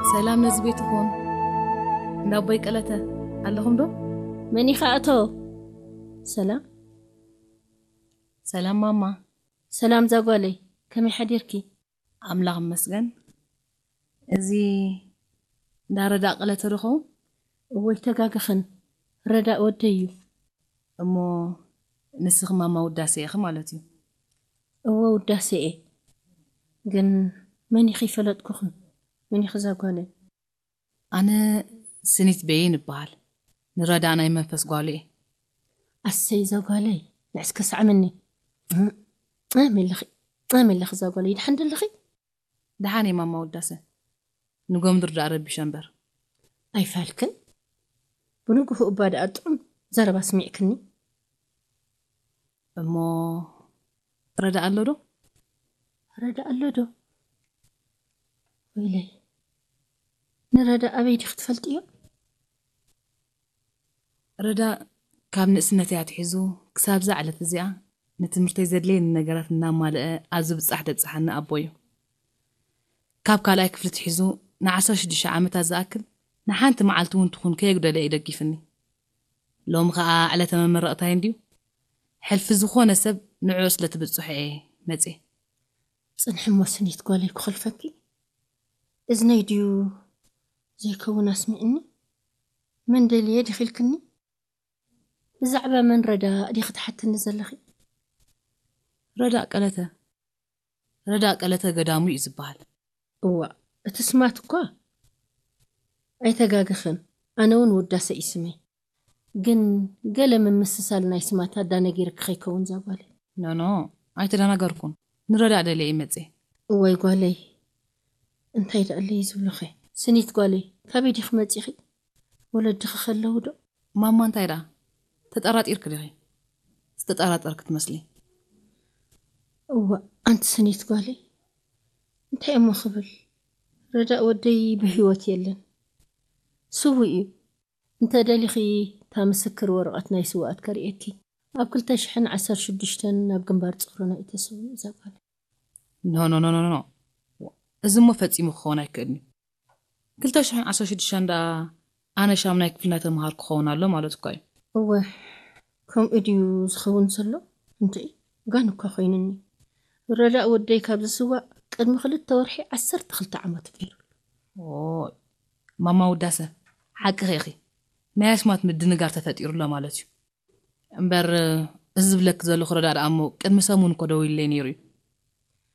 ሰላም ነዚ ቤት ይኹን። እንዳ ኣቦይ ቀለተ ኣለኹም ዶ? መን ኢኻ ኣቶ? ሰላም። ሰላም ማማ። ሰላም ዛጓለይ፣ ከመይ ሓዲርኪ? ኣምላኽ ይመስገን። እዚ እንዳ ረዳእ ቀለተ ዶ ኸውን? እወ፣ ኣይተጋገኽን፣ ረዳእ ወደይ እዩ። እሞ ንስኺ ማማ ውዳሴ ኢኺ ማለት እዩ? እወ፣ ውዳሴ እየ። ግን መን ኢኺ ይፈለጥኩኺ? መን ኢኺ ዛጓለይ? ኣነ ስኒት በይን እበሃል። ንረዳእ ናይ መንፈስ ጓሉ እየ። ኣሰይ ዛጓለይ፣ ንዕስከ ሳዕምኒ። ኣመለኺ፣ ኣመለኺ ዛጓለይ፣ ደሓን ደለኺ? ደሓን እየ ማማ ውዳሰ። ንጎምድር ደኣ ረቢሸ እምበር። ኣይፋልክን? ብንግሆ እባ ደኣ ጥዑም ዘረባ ስሚዕክኒ። እሞ ረዳ ኣሎ ዶ? ረዳ ኣሎ ዶ? ወይለይ፣ ንረዳ ኣበይ ዲኺ ትፈልጥዮ? ረዳ ካብ ንእስነተይ ኣትሒዙ ክሳብ እዛ ዕለት እዚኣ ንትምህርተይ ዘድልየኒ ነገራት እናማልአ ኣብ ዝብጻሕ ደብጽሓኒ ኣቦ እዩ። ካብ ካልኣይ ክፍሊ ትሒዙ ንዓሰርተ ሽዱሽተ ዓመታት ዝኣክል ንሓንቲ መዓልቲ እውን ትኹን ከየጉደለ እዩ ደጊፍኒ። ሎሚ ኸኣ ዕለተ መመረቕታይ እንድዩ። ሕልፊ ዝኾነ ሰብ ንዕኡ ስለ ትብጽሖ እየ መጽየ። ጽንሒ እሞ ስኒት ጓለይ ክኸልፈኪ። እዝነይ ድዩ ዘይከውን ኣስሚዕኒ? መን ደልየ ዲኺ ኢልክኒ? ብዛዕባ መን ረዳ ዲኺ ትሓትኒ ዘለኺ? ረዳ ቀለተ። ረዳ ቀለተ ገዳሙ እዩ ዝበሃል። እዋ፣ እቲ ስማት እኳ ኣይተጋገኽን። ኣነ እውን ውዳሰ እዩ ስመይ። ግን ገለ ምምስሳል ናይ ስማት ኣዳነጊርኪ ከይከውን ዛጓለይ። ኖኖ፣ ኣይተደናገርኩን። ንረዳ ደልየ ይመጽእ። እዋይ ጓለይ፣ እንታይ ደኣለይ ዝብሉኸ? ስኒት ጓለይ፣ ካበይ ዲኺ መጺኺ? ወለድኺ ከለዉ ዶ? ማማ እንታይ ደኣ? ተጠራጢርኪ ዲኺ? ዝተጠራጠርኪ ትመስሊ። እዋ፣ ኣንቲ ስኒት ጓለይ፣ እንታይ እሞ ክብል? ረዳእ ወደይ ብህይወት የለን። ስዉእ እዩ። እንተ ደሊኺ፣ እታ ምስክር ወረቐት ናይ ስውኣት ከርእየኪ። ኣብ ክልተ ሽሕን ዓሰርተ ሽዱሽተን ናብ ግንባር ጾሮና እዩ ተሰዊኡ እዛ ጓል። ኖ፣ ኖ፣ ኖ፣ ኖ፣ ኖ። እዚ እሞ ፈጺሙ ክኸውን ኣይክእልን እዩ። ክልተ ሽሕን ዓሰርተ ሽዱሽተን ደኣ ኣነ ሻምናይ ክፍሊ እናተምሃርኩ ክኸውን ኣሎ ማለት እኳ እዩ። እወ፣ ከምኡ ድዩ ዝኸውን ዘሎ? እንድዒ፣ ጋን እኳ ኮይኑኒ። ረዳእ ወደይ ካብ ዝስዋእ ቅድሚ ክልተ ወርሒ ዓሰርተ ክልተ ዓመቱ ገይሩ። ኦ፣ ማማ ውዳሰ፣ ሓቅኺ ኢኺ። ናይ ኣስማት ምድንጋር ተፈጢሩ ኣሎ ማለት እዩ። እምበር፣ እዚ ዝብለኪ ዘለኹ ረዳእ ደኣ እሞ ቅድሚ ሰሙን እኮ ደዊሉለይ ነይሩ እዩ።